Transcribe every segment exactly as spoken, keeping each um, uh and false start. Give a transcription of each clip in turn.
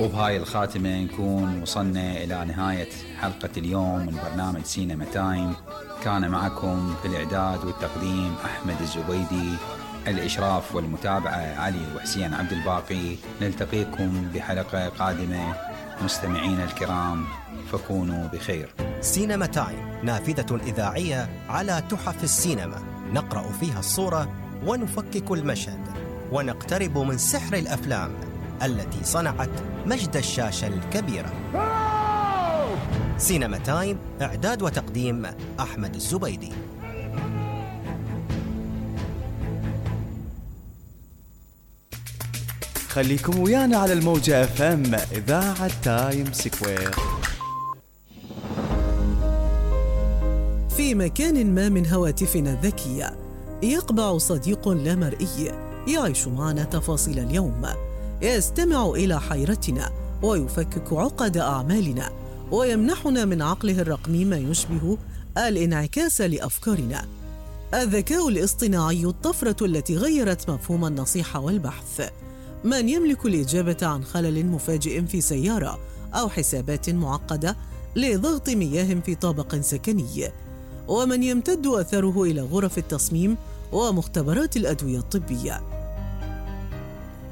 وبهاي الخاتمة نكون وصلنا إلى نهاية حلقة اليوم من برنامج سينما تايم. كان معكم في الإعداد والتقديم أحمد الزبيدي، الإشراف والمتابعة علي وحسين عبد الباقي. نلتقيكم بحلقة قادمة مستمعين الكرام، فكونوا بخير. سينما تايم نافذة إذاعية على تحف السينما، نقرأ فيها الصورة ونفكك المشهد ونقترب من سحر الأفلام التي صنعت مجد الشاشة الكبيرة. سينما تايم، إعداد وتقديم أحمد الزبيدي. خليكم ويانا على الموجة اف ام، إذاعة تايم سكوير. في مكان ما من هواتفنا الذكية يقبع صديق لا مرئي يعيش معنا تفاصيل اليوم، يستمع إلى حيرتنا ويفكك عقد أعمالنا، ويمنحنا من عقله الرقمي ما يشبه الانعكاس لأفكارنا. الذكاء الاصطناعي الطفرة التي غيرت مفهوم النصيحة والبحث. من يملك الإجابة عن خلل مفاجئ في سيارة أو حسابات معقدة لضغط مياه في طابق سكني، ومن يمتد أثره إلى غرف التصميم ومختبرات الأدوية الطبية.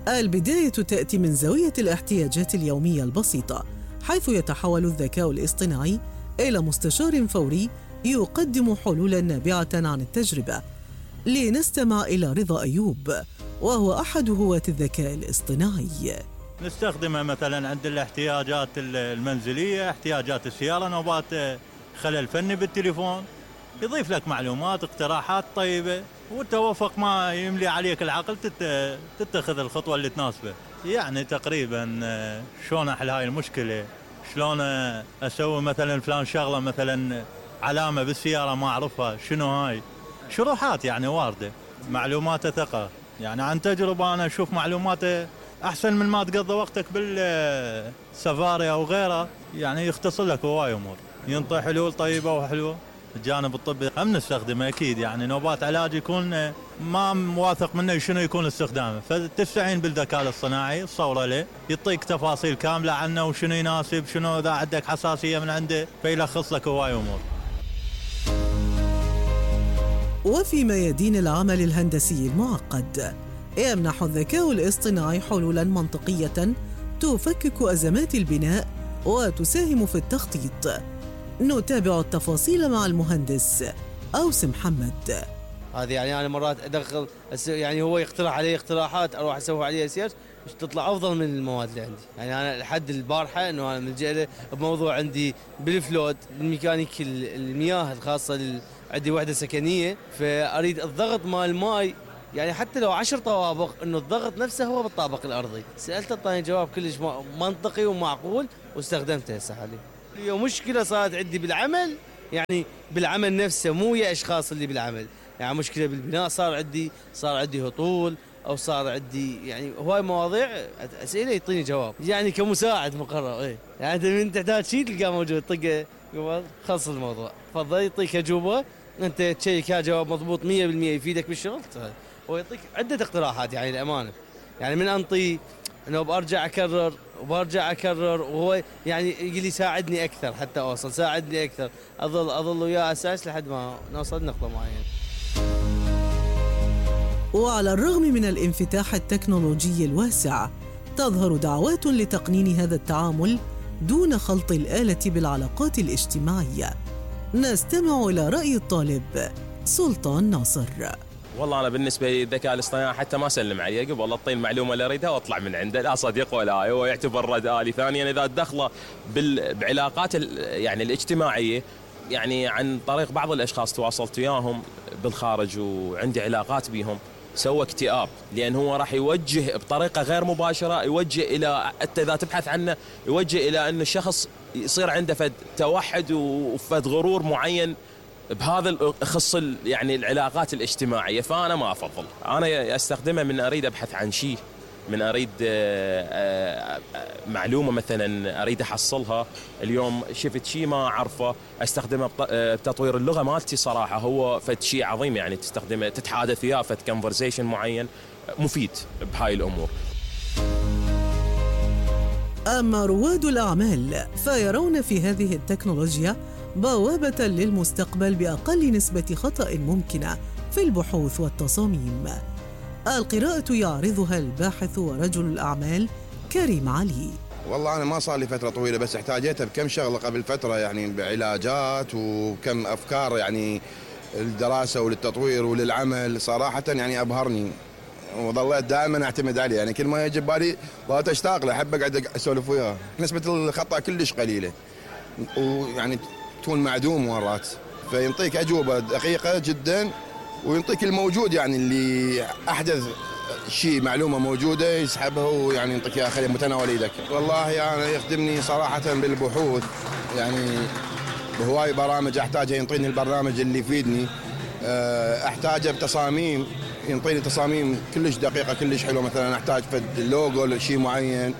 البداية تأتي من زاوية الاحتياجات اليومية البسيطة، حيث يتحول الذكاء الاصطناعي إلى مستشار فوري يقدم حلولاً نابعة عن التجربة. لنستمع إلى رضا أيوب، وهو أحد هواة الذكاء الاصطناعي. نستخدمها مثلا عند الاحتياجات المنزلية، احتياجات السيارة، نوبات خلل فني بالتليفون، يضيف لك معلومات، اقتراحات طيبة، وتوافق ما يملي عليك العقل تتخذ الخطوة اللي تناسبه. يعني تقريبا شلون أحل هاي المشكلة، شلون أسوي مثلا فلان شغلة، مثلا علامة بالسيارة ما أعرفها شنو هاي، شروحات يعني واردة، معلومات ثقة. يعني عن تجربة أنا أشوف معلومات أحسن من ما تقضي وقتك بالسفاري أو غيره، يعني يختصر لك هواي أمور، ينطي حلول طيبة وحلوة. الجانب الطبي هم نستخدمه أكيد، يعني نوبات علاج يكون ما موافق منه شنو يكون استخدامه، فتستعين بالذكاء الاصطناعي، تصوره له، يعطيك تفاصيل كاملة عنه وشنو يناسب، شنو إذا عندك حساسية من عنده، فيلخص لك هواي أمور. وفي ميادين العمل الهندسي المعقد، يمنح الذكاء الاصطناعي حلولاً منطقية تفكك أزمات البناء وتساهم في التخطيط. نتابع التفاصيل مع المهندس أوس محمد. هذه يعني أنا مرات أدخل، يعني هو يقترح علي اقتراحات، أروح أسوي عليها سيرش تطلع أفضل من المواد اللي عندي. يعني أنا لحد البارحة إنه أنا ملجأ له بموضوع عندي بالفلود، الميكانيك المياه الخاصة لل... عندي وحدة سكنية، فأريد الضغط مال الماء، يعني حتى لو عشر طوابق إنه الضغط نفسه هو بالطابق الأرضي. سألته طاني جواب كلش منطقي ومعقول واستخدمته هسه حاليا. اليوم مشكلة صارت عندي بالعمل، يعني بالعمل نفسه، مو ويا أشخاص اللي بالعمل، يعني مشكلة بالبناء، صار عندي صار عندي هطول، أو صار عندي يعني هواي مواضيع أسئلة يعطيني جواب، يعني كمساعد مقرر. إيه يعني أنت من تحتاج شيء تلقاه موجود، طقه خلص الموضوع، تفضل يعطيك أجوبة، أنت تشيك ها جواب مضبوط مية بالمية يفيدك بالشغل، ويعطيك عدة اقتراحات. يعني الأمانة يعني من أنطي إنه برجع أكرر وبرجع أكرر، وهو يعني يقول لي ساعدني أكثر حتى أوصل، ساعدني أكثر، أظل أظل وياه أساس لحد ما نوصل نقطة معينة. وعلى الرغم من الانفتاح التكنولوجي الواسع، تظهر دعوات لتقنين هذا التعامل دون خلط الآلة بالعلاقات الاجتماعية. نستمع إلى رأي الطالب سلطان ناصر. والله أنا بالنسبة لي الذكاء الاصطناعي حتى ما أسلم عليه، قبل أعطيه المعلومة اللي أريدها وأطلع من عنده، لا صديق ولا هو يعتبر رد آلي. ثانياً إذا دخله بعلاقات يعني الاجتماعية، يعني عن طريق بعض الأشخاص تواصلت وياهم بالخارج وعندي علاقات بيهم، سوى اكتئاب، لأن هو راح يوجه بطريقة غير مباشرة، يوجه إلى حتى إذا تبحث عنه يوجه إلى أن الشخص يصير عنده فد توحد وفد غرور معين بهذا يخص يعني العلاقات الاجتماعية. فأنا ما أفضل، أنا أستخدمه من أريد أبحث عن شيء، من أريد معلومة مثلا أريد أحصلها، اليوم شفت شيء ما أعرفه أستخدمه بتطوير اللغة مالتي. صراحة هو فد شيء عظيم، يعني تستخدمه تتحادث وياه فد كونفرزيشن معين، مفيد بهاي الأمور. أما رواد الأعمال فيرون في هذه التكنولوجيا بوابة للمستقبل بأقل نسبة خطأ ممكنة في البحوث والتصاميم. القراءة يعرضها الباحث ورجل الأعمال كريم علي. والله أنا ما صار لي فترة طويلة، بس احتاجتها بكم شغلة قبل فترة، يعني بعلاجات وكم أفكار يعني الدراسة وللتطوير وللعمل. صراحة يعني أبهرني وظليت دائما أعتمد عليه، يعني كل ما يجي بالي ظليت أشتاق له، أحب أقعد أسولف وياه. نسبة الخطأ كلش قليلة ويعني تكون معدوم مرات، فينطيك أجوبة دقيقة جدا وينطيك الموجود، يعني اللي أحدث شيء معلومة موجودة يسحبها ويعني ينطيك إياها خليه متناول إيدك. والله يعني يخدمني صراحة بالبحوث، يعني بهواي برامج أحتاجها ينطيني البرنامج اللي يفيدني، أحتاجه بتصاميم ينطيني تصاميم كلش دقيقة كلش حلوة. مثلا أحتاج فد لوجو لشيء معين،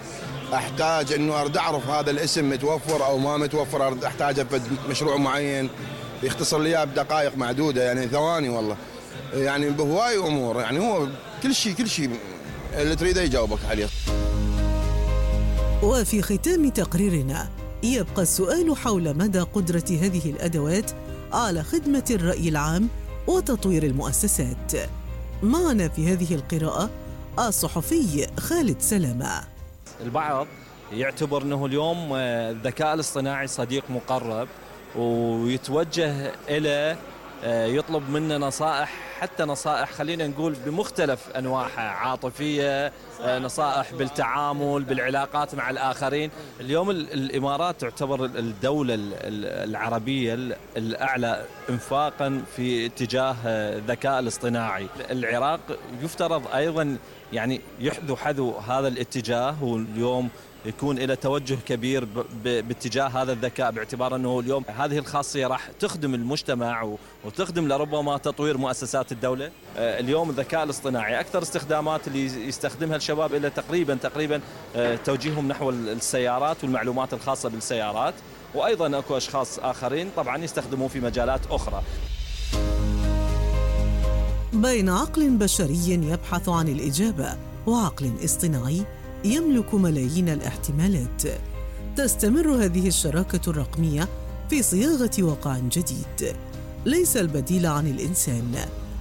أحتاج إنه أرد أعرف هذا الاسم متوفر أو ما متوفر، أرد أحتاجه فد مشروع معين يختصر لي إياه بدقائق معدودة، يعني ثواني والله، يعني بهواي أمور. يعني هو كل شيء كل شيء اللي تريده يجاوبك عليه. وفي ختام تقريرنا يبقى السؤال حول مدى قدرة هذه الأدوات على خدمة الرأي العام وتطوير المؤسسات. معنا في هذه القراءة الصحفي خالد سلامة. البعض يعتبر أنه اليوم الذكاء الاصطناعي صديق مقرب ويتوجه إلى يطلب منا نصائح، حتى نصائح خلينا نقول بمختلف أنواعها، عاطفية، نصائح بالتعامل بالعلاقات مع الآخرين. اليوم الإمارات تعتبر الدولة العربية الأعلى إنفاقا في اتجاه الذكاء الاصطناعي. العراق يفترض أيضا يعني يحذو حذو هذا الاتجاه، واليوم يكون إلى توجه كبير باتجاه هذا الذكاء، باعتبار أنه اليوم هذه الخاصية راح تخدم المجتمع وتخدم لربما تطوير مؤسسات الدولة. اليوم الذكاء الاصطناعي أكثر استخدامات اللي يستخدمها الشباب إلى تقريبا تقريبا توجيههم نحو السيارات والمعلومات الخاصة بالسيارات، وأيضا أكو أشخاص آخرين طبعا يستخدموه في مجالات أخرى. بين عقل بشري يبحث عن الإجابة وعقل اصطناعي يملك ملايين الاحتمالات، تستمر هذه الشراكة الرقمية في صياغة واقع جديد ليس البديل عن الإنسان،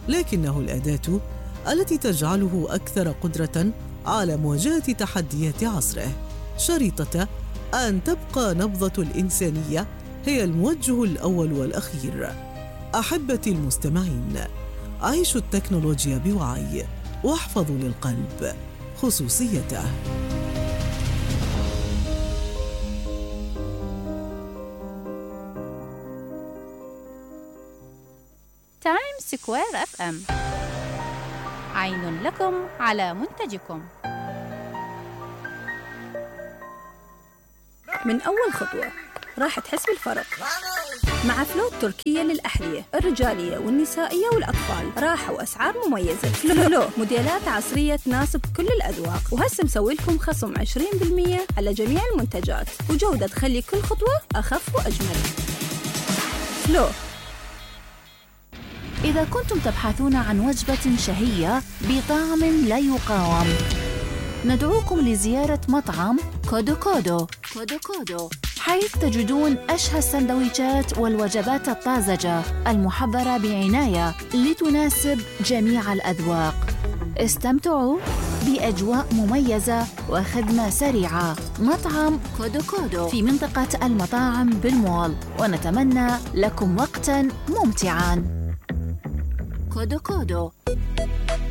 لكنه الأداة التي تجعله أكثر قدرة على مواجهة تحديات عصره، شريطة أن تبقى نبضة الإنسانية هي الموجه الأول والأخير. أحبتي المستمعين، عيشوا التكنولوجيا بوعي واحفظوا للقلب خصوصيته. تايم سكوير اف ام، عين لكم على منتجكم. من أول خطوة راح تحس بالفرق مع فلو التركية للأحذية الرجالية والنسائية والأطفال، راحة وأسعار مميزة. فلو موديلات عصرية تناسب كل الأذواق، وهسه مسوي لكم خصم عشرين بالمئة على جميع المنتجات، وجودة تخلي كل خطوة أخف وأجمل. فلو. إذا كنتم تبحثون عن وجبة شهية بطعم لا يقاوم، ندعوكم لزيارة مطعم كودو كودو كودو كودو، حيث تجدون أشهى السندويشات والوجبات الطازجة المحضرة بعناية لتناسب جميع الأذواق. استمتعوا بأجواء مميزة وخدمة سريعة. مطعم كودو كودو في منطقة المطاعم بالمول، ونتمنى لكم وقتاً ممتعاً. كودو كودو.